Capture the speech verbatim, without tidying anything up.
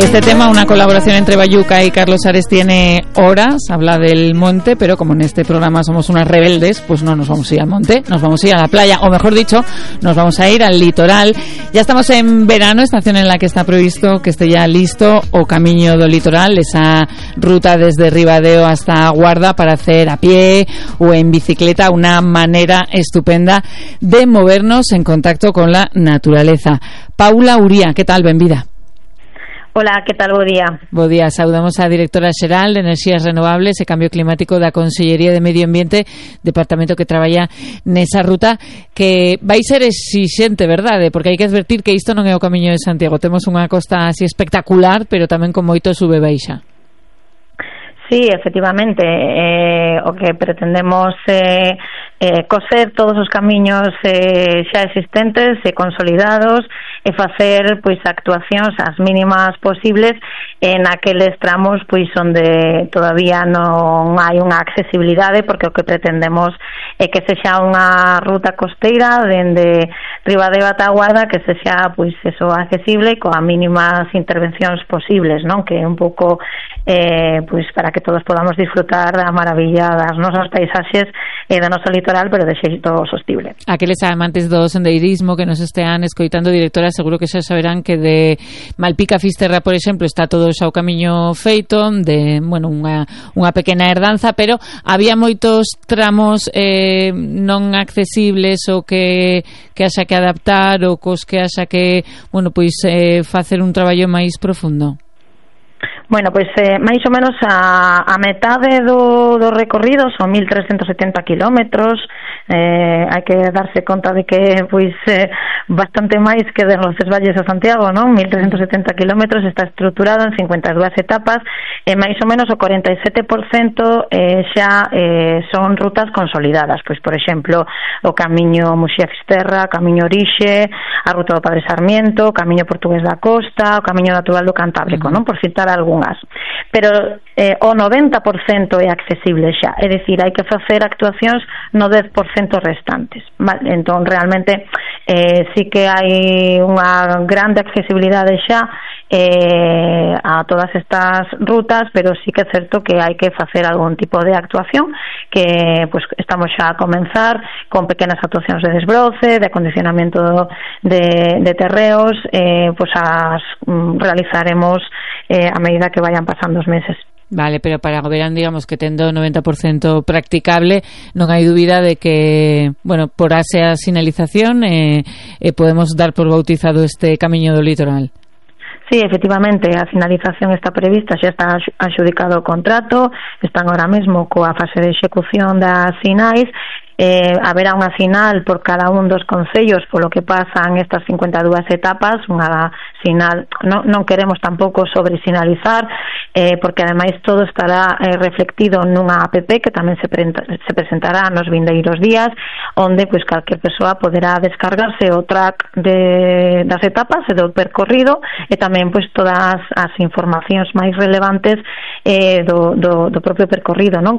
Este tema, una colaboración entre Bayuca y Carlos Ares, tiene horas, habla del monte, pero como en este programa somos unas rebeldes, pues no nos vamos a ir al monte, nos vamos a ir a la playa, o mejor dicho, nos vamos a ir al litoral. Ya estamos en verano, estación en la que está previsto que esté ya listo o Camiño do Litoral, esa ruta desde Ribadeo hasta Guarda para hacer a pie o en bicicleta, una manera estupenda de movernos en contacto con la naturaleza. Paula Uría, ¿qué tal? Benvida. Hola, que tal? Bo día. Bo día, saudamos a directora xeral de Enerxías Renovables e Cambio Climático da Consellería de Medio Ambiente, departamento que traballa nesa ruta, que vai ser exixente, verdade? Porque hai que advertir que isto non é o Camiño de Santiago. Temos unha costa así espectacular, pero tamén con moito sube e baixa. Sí, efectivamente, eh, o que pretendemos é eh, eh, coser todos os camiños eh, xa existentes e consolidados e facer pois actuacións as mínimas posibles en aqueles tramos pois onde todavía non hai unha accesibilidade, porque o que pretendemos é que sexa unha ruta costeira dende Ribadeo ata Guarda que sexa pois eso accesible e coa mínimas intervencións posibles, non? Que é un pouco eh, pois para que todos podamos disfrutar da maravilla das nosas paisaxes e do noso litoral, pero de xeito sostible. Aqueles amantes do sendeirismo que nos estean escoitando, directora, seguro que xa saberán que de Malpica a Fisterra, por exemplo, está todo xa o camiño feito, de, bueno, unha, unha pequena herdanza, pero había moitos tramos eh, non accesibles ou que, que haxa que adaptar ou cos que haxa que, bueno, pois eh, facer un traballo máis profundo. Bueno, pois eh, máis ou menos a, a metade do, do recorrido son mil trescentos setenta kilómetros. Eh, hai que darse conta de que pois eh, bastante máis que de Roces Valles a Santiago, non? mil trescentos setenta kilómetros, está estruturado en cincuenta e dúas etapas e máis ou menos o cuarenta e sete por cento eh, xa eh, son rutas consolidadas. Pois, por exemplo, o Camiño Muxía-Fisterra, o Camiño Orixe, a ruta do Padre Sarmiento, o Camiño Portugués da Costa, o Camiño Natural do Cantábrico, non? Por citar algún. Pero eh, o noventa por cento é accesible xa, é dicir, hai que facer actuacións no dez por cento restantes, vale? Entón, realmente eh, sí que hai unha grande accesibilidade xa eh, a todas estas rutas, pero sí que é certo que hai que facer algún tipo de actuación que pues, estamos xa a comenzar con pequenas actuacións de desbroce, de acondicionamento de, de terreos, eh, pues as mm, realizaremos eh, a medida que vayan pasando os meses. Vale, pero para o verán, digamos que tendo o noventa por cento practicable, non hai dúbida de que, bueno, por ase a sinalización eh, eh, podemos dar por bautizado este Camiño do Litoral. Sí, efectivamente, a finalización está prevista, xa está adxudicado o contrato, están ahora mesmo coa fase de execución das sinais. Eh, haberá unha final por cada un dos concellos polo que pasan estas cincuenta e dúas etapas, unha sinal, non, non queremos tampouco sobresinalizar, eh, porque ademais todo estará eh, reflectido nunha app que tamén se, pre- se presentará nos vindeiros días, onde pois calquer persoa poderá descargarse o track de, das etapas e do percorrido e tamén pois todas as informacións máis relevantes eh, do, do, do propio percorrido, non?